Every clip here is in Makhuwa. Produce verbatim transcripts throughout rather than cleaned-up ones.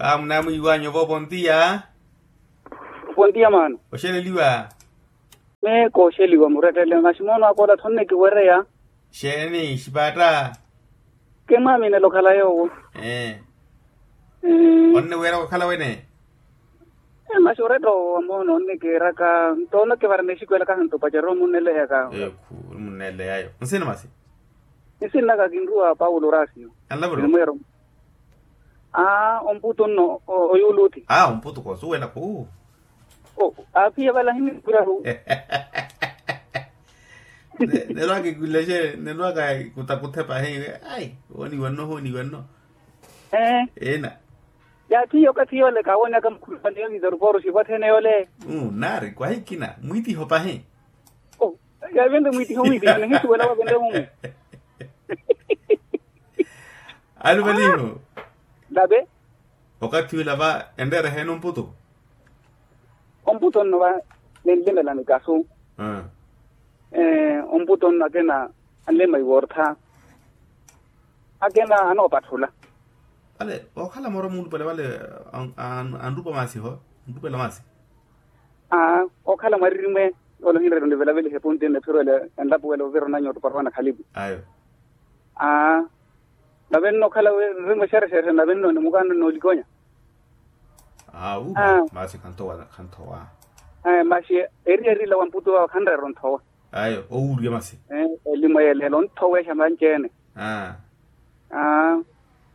Amunamwiiwanyu ovo pontiya. Pontiya maana. Oxeleliwa. Meeko oxeliwa murettele maxi moono akoola thonne kiwereya. Xeeni xipaatta? Kemwaaminela okhala yoowo. Ee. Onniweeraka okhala wene. Maxi oretta owo amoono onnikiiraka nto onakivara nexikwelaka hanto pacerya omunneleyaka. Ekhu. Omunneleyayo nsina masi. Nsinnaka kinruwa paulo orasiyo. Anlavuro. Aa omputu nno oyuuluti. Aa omputu koosuwela khu. Aaphiya vala ahinnikuraru. Nelwaka ikulexe nelwaka kutakuthe pahi. Ai wooniwa nno hooniwa nno. Ee. Ina. Yaathiya okathi yoole kaawoonaka mukhulupale yoviza ruporo xivo athene yoole. Naari kwahikina mwiitiho pahi. Yaavenle mwiitiho mwiitiho nihisuwela wavenle mumu. Alupaliho. Nave. Okathi ula va enreera eheeni omputu. Omputu nno va ninlimela mikasu. Omputu nno akina anlima iwortha. Akina anoopatthula. Vale okhala moro muulupale vale. Anrupa masi ho. Anrupela masi. Aa okhala mwaririmo. Ole ohinretta onivelaveliha epunti nne phiro ele enlapuwela ovira onanyu otuparwa nakhalipu. Ayo. Aa nave nno okhala nrimwe xerexerexe nave nno nimukaana nnoolikonya. Aa upa masi khanthowa khanthowa. Masi eriyari ila wa mputu wawe khanreera onthowa. Ayo owuuriya masi. Elimwe yeleela onthowexa manci-ene. Aa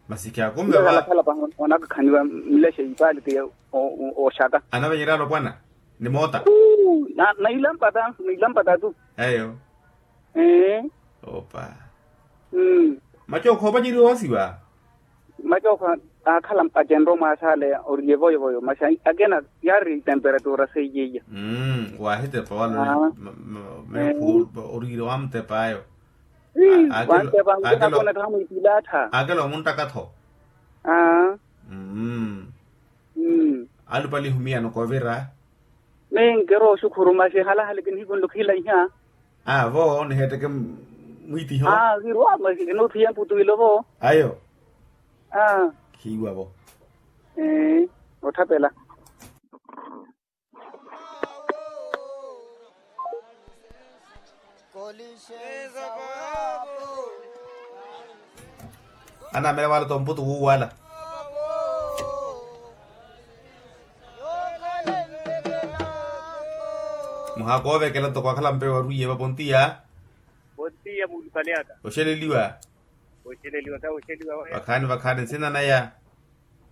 masi kyakumbe va. Onakakhaniwa mlexe ipaliti. Oxaka anavenyerya alopwana. Ni moota. Nailampata nailampata tu. Eyo. Opa. Macookho opaceriwa owasiwa. Macookho aakhala mpacenro mwaasale oriye voyovoyo masi akina yaari temperatura seiye iya. Waahitepa wala. Oriire wamutepaayo. Wantepa nkinakonetta hamwiitilaatha. Akela omunttaka-tho. Alupalihu miyano koovira. Minkiro oxukhuru masi halahale kinihikunle okhila iha. Aa vo niheetteke mwiitiho. Aa kiruwa masi kinoothiya mputu ilo vo. Ayo. Aa khiiwa vo. Ee otthapela. Anamela wala tomputu wuwala. Muhaka ovekela toko akhala mpewe warwiye vapontiya. Pontiya muulupale aka. Oxeleliwa. Oxeleliwa ka oxeliwa waya. Vakhaani vakhaani nsina naya.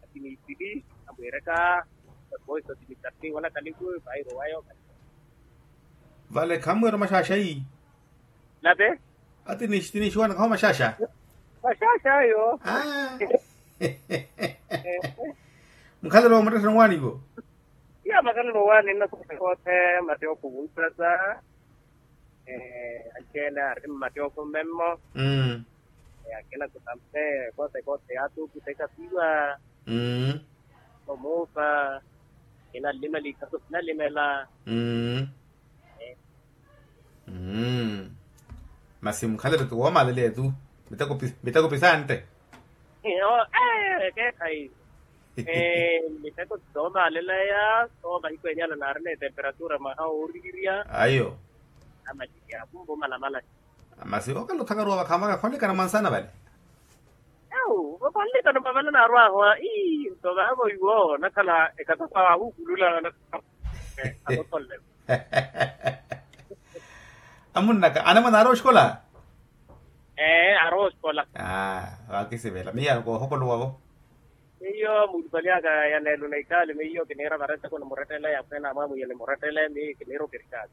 Ati niipili amweeraka. Voice ati nitapti wala kaliku. Vairo wayo. Vale khammweera omaxaxayi. Nave. Ati nixitiinixiwanaka ho maxaxa. Maxaxa ayo. Mukhalelo wa muttettheni owaani ivo. Iya makhalelo owaani nnasosa koothe mate okhuwunsasa. Anci-ene ari mmate okhumemmo. Akina kutampe koothe koothe yaatuukisa ekasiwa. Omuupa. Kinalimela ikhaso kinalimela. Masi mukhalelo ti woomaleleya tu. Miteko pisantte. Keekhayi. Miteko ti soomaleleya soomahiku enyala naarina etemperatura mwaha wooriirya. Ayo. Amaliliya akumva omalamala. Masi okala othakaruwa vakhaamaka khonlekana mwansana vale. Ewu vakhonlekana mwavala naarwaho. Ii nto vaavo iwo nakhala ekatapa ahukulula. Atotholle. Amunnaka anamwane aari oxikola. Ee aari oxikola. Aa vakisivela miyo koohokoluwavo. Miyo muulupali aka ya neelo na ikaali miyo kiniira varenteko nimurettele ya khweene amwamwiya nimurettele miyo kiniira okirikaali.